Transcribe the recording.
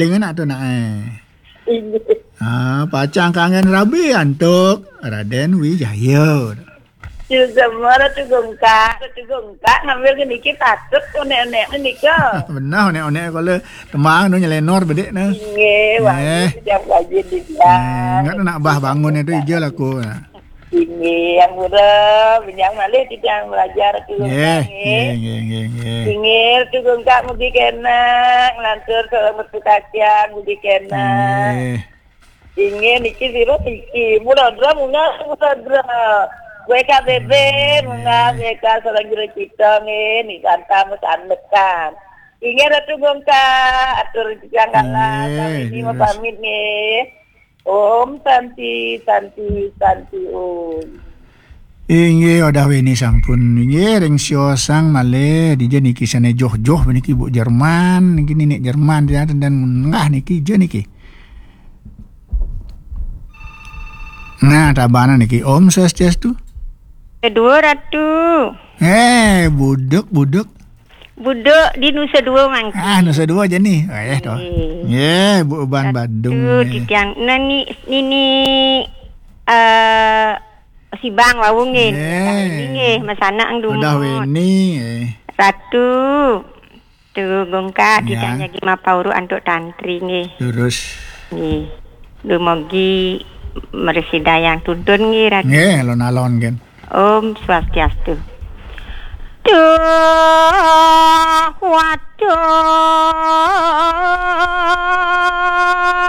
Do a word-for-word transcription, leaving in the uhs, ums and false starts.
Dengan nak tu nak, eh. Inggih. Ha, pacang kangen rabi antuk Raden Wijaya. Semua Ratu Gungkak, Ratu Gungkak ngambil ke niki patut onek-onek nika. Benar, onek-onek kalau temang tu nyelenor bedik nah. Inggih, wah, eh, sejak rajin di, eh, enggak nak bah bangun itu ija laku. Inggih, yang muda, yang malih titiang belajar Ratu Gungkak, nggih. Nggih, nggih, nggih, nggih. Inggih, Ratu Gungkak mugi kenak, lantur seorang metu kacang, mugi kenak. Nggih. Inggih, niki sira niki. Mula dra munggah, mula dra. W K B B, munggah, W K seorang juru cita, nggih. Ni santa mesanekan. Inggih, Ratu Gungkak, atur titiang kalah, nggih, sami ini terus mapamit, nggih. Om Santi, Santi, Santi, Om. Inggih, Odah Weni sampun. Inggih, ring siosang malih, dija niki sane joh-joh niki Bu Jerman, niki ninik Jerman dia dan munggah niki ija niki. Nah, tabana niki Om Swastiastu. Kedua Ratu. Eh, buduk, buduk. Buduk di Nusa Dua mangkin. Ah, Nusa Dua aja nih. Eh, toh. Nggih. Nggih, Bu Uban Ratu Badung, nggih. Titiang nani nini eh Sibang wau nggih. Nggih. Nggih, masanak ang Udah dumut. Weni, eh. Ratu. Tu Gungkak, ya, titiang jagi mapauru antuk tantri nggih. Terus. Nggih. Dumugi mresidayang tuntun nggih, Ratu. Nggih, alon-alon, kan. Om Swastiastu. Duh, waduh.